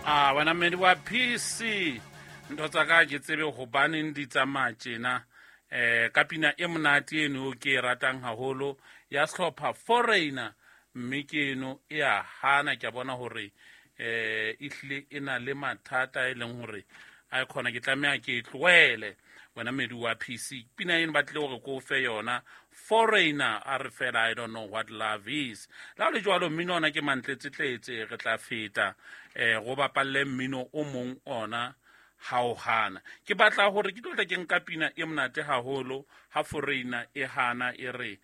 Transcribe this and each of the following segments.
A wena mmedi wa PC, ntho tsa ka ke tsebe hobaneng di tsamaya tjena. Ka pina e monate eno ke e ratang haholo ya sehlopha Foreigner, mme ke eno e a hana. Ke a bona hore ehlile e na le mathata e leng hore a e khona, ke tlameha ke e tlohele. Wena mmedi wa PC, pina eno ba tlile hore ko fe yona Foreigner, a re fela, "I don't know what love is." La le jwalo, mmino ona ke mantletsetletse, re tla feta go bapalle mmino o mong ona ha o hana. Ke batla hore ke tlo tla ke nka pina e monate haholo ha Foreigner e hana e re,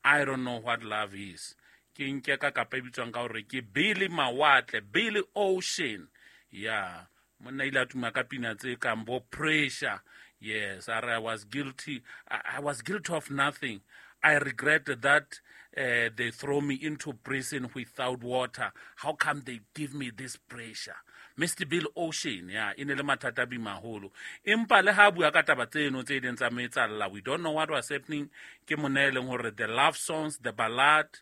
"I don't know what love is." Ke nke ka kapa e bitswang ka hore ke Billy Mawatle, Billy Ocean. Ya monna ile a tuma ka pina tse kang bo Pressure. Yes, a re, "I was guilty, I was guilty of nothing. I regret that they throw me into prison without water. How come they give me this pressure?" Mr Bill Ocean, ya e ne le mathata a bimaholo, empa le ha bua ka taba tseno tse ileng tsa mo etsalla, we don't know what was happening. Ke monna e leng hore the love songs, the ballad,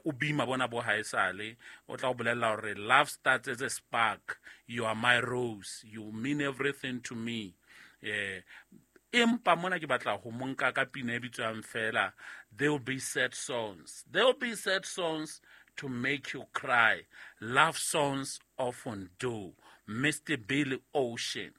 o bima bona bo haesale o tla o bolella hore love starts as a spark, you are my rose, you mean everything to me. Empa mona ke batla ho monka ka pina e bitswang fela "There Will Be Sad Songs". There will be sad songs to make you cry, love songs often do. Mr Billy Ocean.